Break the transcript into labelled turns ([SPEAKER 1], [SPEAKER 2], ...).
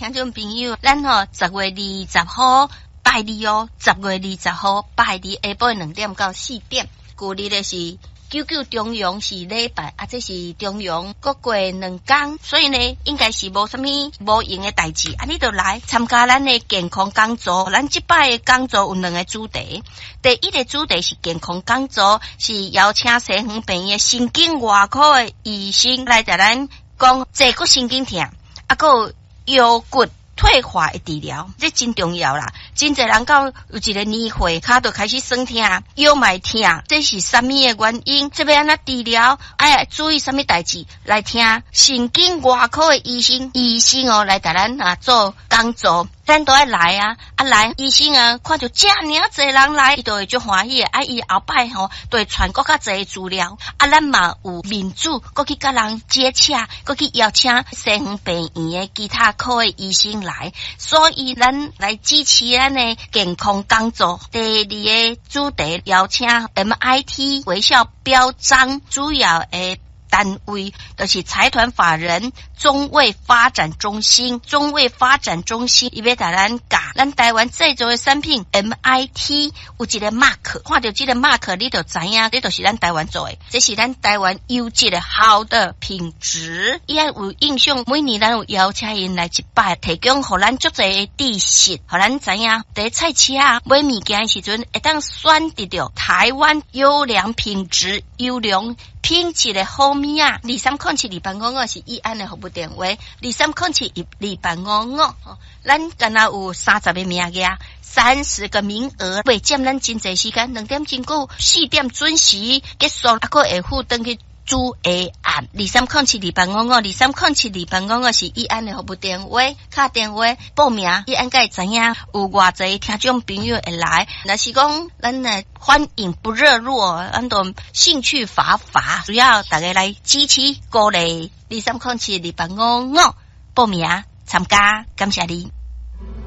[SPEAKER 1] 聽眾朋友，咱吼10月20號拜二哦，10月20號拜二下晡2點到4點，舊日的是九九重陽是禮拜，啊，這是重陽閣過2工，所以呢，應該是無啥物無閒的代誌，啊，你就來參加咱的健康講座。咱這擺的講座有兩個主題，第一個主題是健康講座，是邀請西園病院神經外科的醫生來共咱講坐骨神經疼，啊，閣有腰骨退化的治療，這真重要啦！真濟人到有一個年歲，跤就開始痠疼，腰嘛會疼，這是啥物的原因？這欲按怎治療？愛注意啥物代誌？來聽神經外科的醫生，醫生哦來共咱啊做講座，咱都愛來啊！啊來，醫生啊看著遮爾濟人來，伊就會足歡喜的。啊，伊後擺吼，就會傳閣較濟資料。啊，咱嘛有民主，閣去佮人接洽，閣去邀請西園病院的其他科的醫生來。所以，咱來支持咱的健康講座。第二個主題邀請 MIT 微笑標章主要的單位就是財團法人中衛發展中心，中衛發展中心伊欲共咱教咱台灣製造的產品 MIT 有一個 mark，看著這個 mark 你就知影，這就是咱台灣做的，這是咱台灣優質的好的品質。伊還有印象，每年咱有邀請𪜶來一擺，提供予咱足濟的知識，予咱知影佇菜市仔買物件的時陣，會當選擇著台灣優良品質、優良品質的好物仔。2307-2855是議案的服務電話，2307-2855。咱敢若有30個名額，30個名額，袂佔咱真濟時間，2點鐘過4點準時結束，啊，閣會赴轉去煮下暗。2307-2855，2307-2855是議案的服務電話，敲電話報名，議案才會知影有偌濟聽眾朋友會來。若是講咱的反應不熱絡，咱都興趣乏乏，主要大家來支持鼓勵，2307-2855報名參加，感謝你。